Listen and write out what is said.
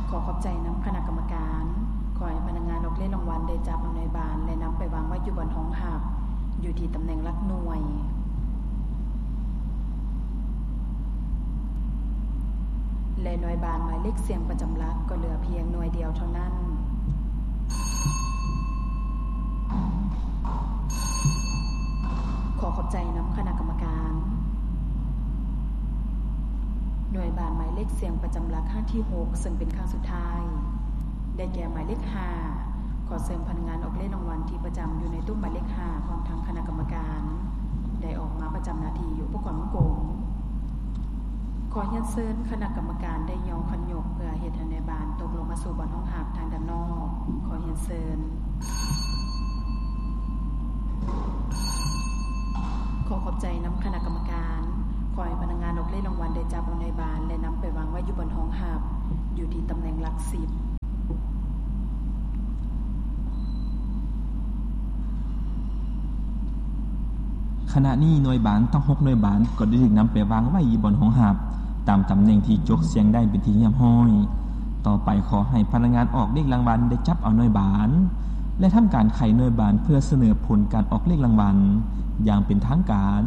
ຂໍຂອບໃຈນຳຄະນະກຳມະການ. ຂໍໃຫ້ພະນັກງານອອກເລກລາງວັນໄດ້ຈັບເອົາໜ່ວຍບານ ແລະ ນຳໄປວາງໄວ້ຢູ່ບ່ອນຮອງຮັບ ຢູ່ທີ່ຕຳແໜ່ງຫຼັກໜ່ວຍ ແລະ ໜ່ວຍບານໝາຍເລກສ່ຽງປະຈຳຫຼັກກໍເຫຼືອພຽງໜ່ວຍດຽວເທົ່ານັ້ນ. ຂໍຂອບໃຈນຳຄະນະກຳມະການ. ໜ່ວຍບານໝາຍເລກສ່ຽງປະຈຳຫຼັກຄັ້ງທີຫົກ ເຊິ່ງເປັນຄັ້ງສຸດທ້າຍ ໄດ້ແກ່ໝາຍເລກຫ້າ. ຂໍເຊີນພະນັກງານອອກເລກລາງວັນທີ່ປະຈຳຢູ່ໃນຕູ້ໝາຍເລກຫ້າ ພ້ອມທັງຄະນະກຳມະການ ໄດ້ອອກມາປະຈຳໜ້າທີ່ຢູ່ອຸປະກອນວົງກົມ. ຂໍຮຽນເຊີນຄະນະກຳມະການໄດ້ຍໍຄັນຍົກເພື່ອເຮັດໃຫ້ໜ່ວຍບານຕົກລົງມາສູ່ບ່ອນຮອງຮັບທາງດ້ານນອກ. ຂໍຮຽນເຊີນ. ຂໍຂອບໃຈນຳຄະນະກຳມະການ. ຂໍໃຫ້ພະນັກງານອອກເລກລາງວັນໄດ້ຈັບເອົາໜ່ວຍບານ ແລະ ນຳໄປວາງໄວ້ຢູ່ບ່ອນຮອງຮັບ ຢູ່ທີ່ຕຳແໜ່ງຫຼັກສິບ. ຂະນະນີ້ໜ່ວຍບານທັງຫົກໜ່ວຍບານກໍໄດ້ຖືກນຳໄປວາງໄວ້ຢູ່ບ່ອນຮອງຮັບ ຕາມຕຳແໜ່ງທີ່ຈົກສ່ຽງໄດ້ເປັນທີ່ຮຽບຮ້ອຍ. ຕໍ່ໄປຂໍໃຫ້ພະນັກງານອອກເລກລາງວັນໄດ້ຈັບເອົາໜ່ວຍບານ ແລະ ທຳການໄຂໜ່ວຍບານເພື່ອສະເໜີຜົນການອອກເລກລາງວັນຢ່າງເປັນທາງການ.